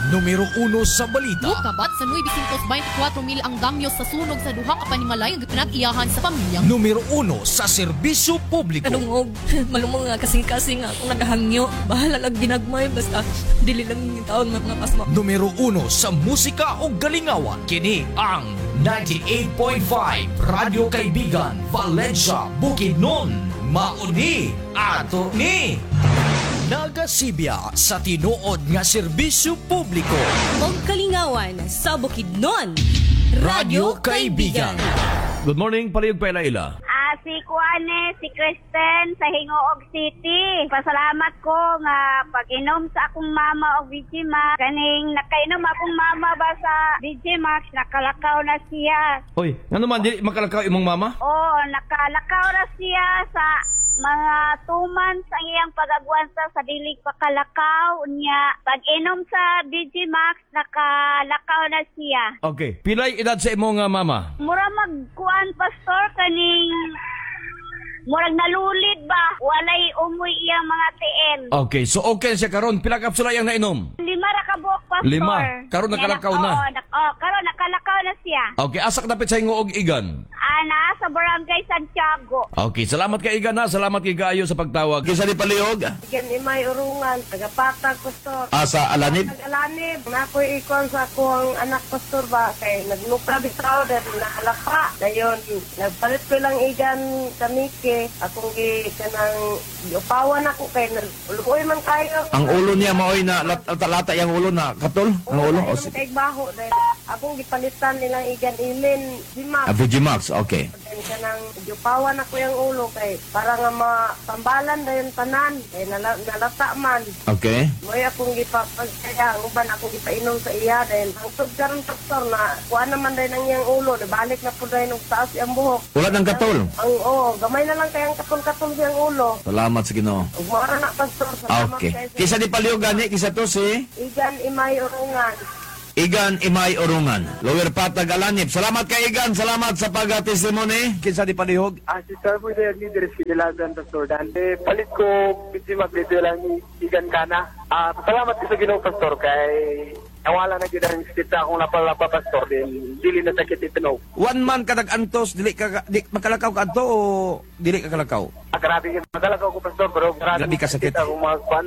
Numero 1 sa balita. Mukabat sa 924 mil ang damyo sa sunog sa duha ka panimalay nga pinag-iyahan sa pamilyang Numero 1 sa serbisyo publiko. Kadungog, malumong nga kasing-kasing akong nagahangyo. Bahala lang ginagmay, basta dili lang yung taon mga pasma. Numero 1 sa musika o galingawan. Kini ang 98.5 Radyo Kaibigan, Valencia, Bukidnon. Mauni ato ni. Nagasibya sa tinuod nga serbisyo publiko. Og kalingawan sa Bukidnon. Radyo Kaibigan. Good morning, palihog paila-ila. Ah, si Kuane, si Kristen sa Hingoog City. Pasalamat ko nga pag-inom sa akong mama og VG Max. Kaning nakainom akong mama ba sa VG Max, nakalakaw na siya. Oy, ngano man dili makalakaw imong mama? Oo, nakalakaw na siya sa mga 2 months ang iyang pag-agwansa sa dilig pakalakaw niya. Pag-inom sa VG Max, nakalakaw na siya. Okay. Pilay edad sa imong nga mama? Mura magkuan, pastor, kaning murag nalulid ba, walay umoy iyang mga tiil. Okay, so okay siya karon. Pila kapsula iyang nainom? 5 ra ka buok, pastor. 5. Karon nakalakaw na. Oo, oh, karon nakalakaw na siya. Okay, asa ka dapit sa Hingoog, Igan? Ana sa Barangay Santiago. Okay, salamat kay Igan ha. Salamat kay kaayo sa pagtawag. Kinsa ni palihog? Igan Imay Urungan, tagapatag, pastor. Asa Alanib? Nag-alanib, na ako'y ikon sa akong anak, pastor ba, kay naglupra bitaw, dahil nakalapa. Dayon, nagpalit ko lang igan tamike, akong gi kanang giupawan ako kay luoy man kayo. Ang ulo niya maoy na lata-lata yang ulo na katol? Ang ulo? O, O, kay baho dahil akong gipalitan nilang igan ilin, Jimax. Ah, Vigimax, okay. Then kanang giupawan ako yung ulo kay para nga mapambalan dayon tanan kay nalata man. Okay. Mo'y akong gipapagkaya, ang uban akong gipainom sa iya dahil hangtod karon, doktor, na kuha naman dahil ang iyang ulo, nabalik na po dahil og taas iyang buhok. Wala ng katol. Ang oo, gamay na lang kayang katol-katol siyang ulo. Salamat sa Ginoo. Ug mao na, pastor, salamat Okay. kay sa Kisa ni palihog gani, kisa to si Igan Imay Urungan. Igan Imay Orungan. Lower Patag Alanib. Salamat kay Igan, salamat sa pag-testimony. Kinsa ni palihog? Ah, si Sir po ni Dres Kinilagan, Pastor Dante. Palit ko, busy dito lang igan ka na. Ah, salamat ko sa Ginoo, Pastor, kay nawala na gyud ang sakit sa akong lapalapa, Pastor, din dili na sakit itinog. One month ka nag-antos, dili ka di, makalakaw ka adto o dili ka kalakaw? Ah, grabe yun. Magalakaw ko, Pastor, pero grabe, Grabe ka sakit. akong mga kwan.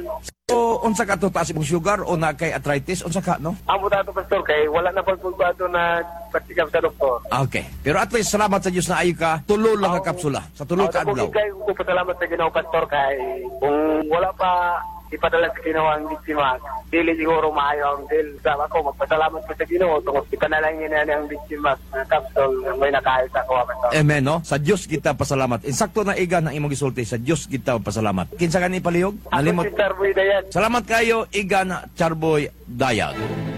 O unsa ka to, taas imong sugar o na kay arthritis, unsa ka no? Amo ta ato, Pastor, kay wala na pag ato na patikap sa doktor. Okay. Pero at least salamat sa Dios na ayo ka. Tulo lang ka kapsula. Sa tulo ka adlaw. Kay ko pasalamat sa Ginoo, Pastor, kay kung wala pa ipadala sa Ginoo ang biktima, dili siguro maayo ang deal sa ako. Magpasalamat ko sa Ginoo tungod ipanalangin niya ang biktima na kapsol may nakaayos ako, Pastor. Amen, no? Sa Dios kita pasalamat. Insakto na, Igan, ang imong gisulti. Sa Dios kita pasalamat. Kinsa gani palihog? Ako Nalimot. si Sir Boy Dayan. Salamat kayo, Igan Charboy Dayag.